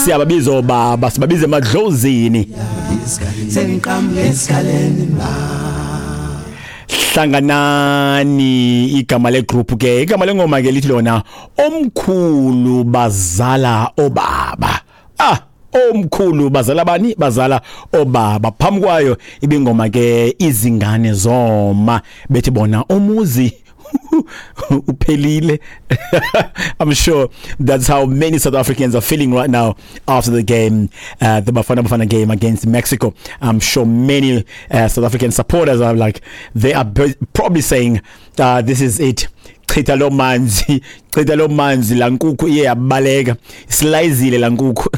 Siyababiza obaba, sibabiza emadlozini. Sengiqambe esikaleni. Hlanganani igama legroup ke, igama lengoma ke lithi lona omkhulu bazala obaba. Ah, omkhulu bazala bani? Bazala obaba. Phambi kwayo ibingoma ke izingane zoma, bethi bona umuzi uphelile. I'm sure that's how many South Africans are feeling right now after the game, the Bafana Bafana game against Mexico. I'm sure many South African supporters are like, they are probably saying, this is it. Chitha lo manzi, chitha lo manzi, la nkukhu iye yabaleka, slayizile la nkukhu.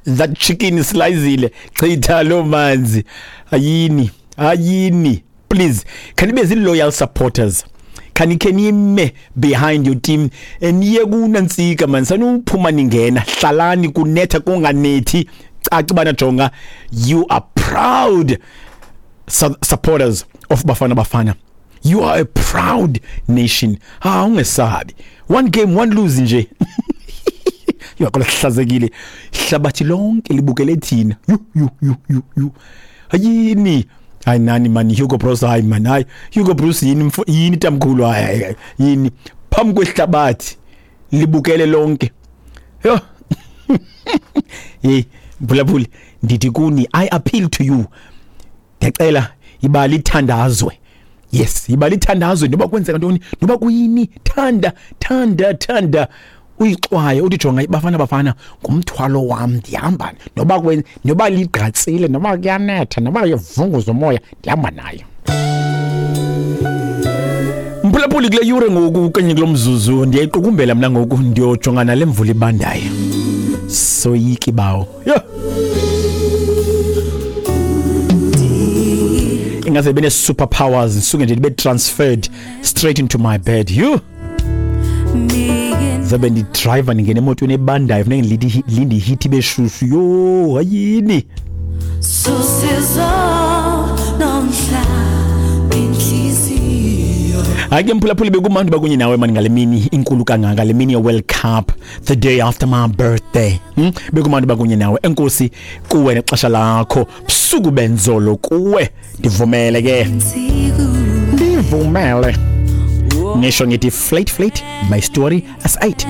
That chicken slayizile, chitha lo manzi. Ayini, ayini. Please, can you be loyal supporters? Can you nime behind your team? Niye kunantsika man, sanuphuma ningena, hlalani kunetha kunganethi. Caca bana jonga, you are proud supporters of Bafana Bafana. You are a proud nation. Ah, ungesabi. One game, one lose nje. Yakola hlazekile. Hlabathi lonke libukele thina. Yu yu yu yu yu. Ayini. Hayi nani man, Hugo Broos, hayi man, hayi Hugo Broos yini yini tamkhulu, hayi yini phambi kwehlabathi libukele lonke. Yo. Hey, Mbulabuli, ndithi kuni, I appeal to you. Ndiyacela ibali ithandazwe. Yes, ibali ithandazwe noba kwenzeka ntoni, noba kuyini, thanda thanda thanda. Uyixwaye uthi jonga iBafana Bafana ngumthwalo wam, ndihamba noba noba ligqatsile, noba kuyanetha, noba uyavunguza umoya, ndihamba nayo. Mphulaphuli, kule yure ngoku kanye kulo mzuzu ndiyayiqukumbela mna ngoku, ndiyojongana nale mvula ibandayo. Soyiki bawo. Yho. Ingaze bene super powers, ndisuke nje ndibe transferred straight into my bed. Yho. Zabe ndidriver ndingena emotweni ebandayo, funeka ndilinde ihithi ibe shushu. Yho, hayini. Hayi ke mphulaphuli, bekumandi bakunye nawe mani ngale mini inkulu kangaka, le mini ye-World Cup, the day after my birthday. Bekumandi bakunye nawe. Enkosi kuwe nexesha lakho, busuku benzolo kuwe. Ndivumele ke, ndivumele nisho ngithi flat flat, my story as 8.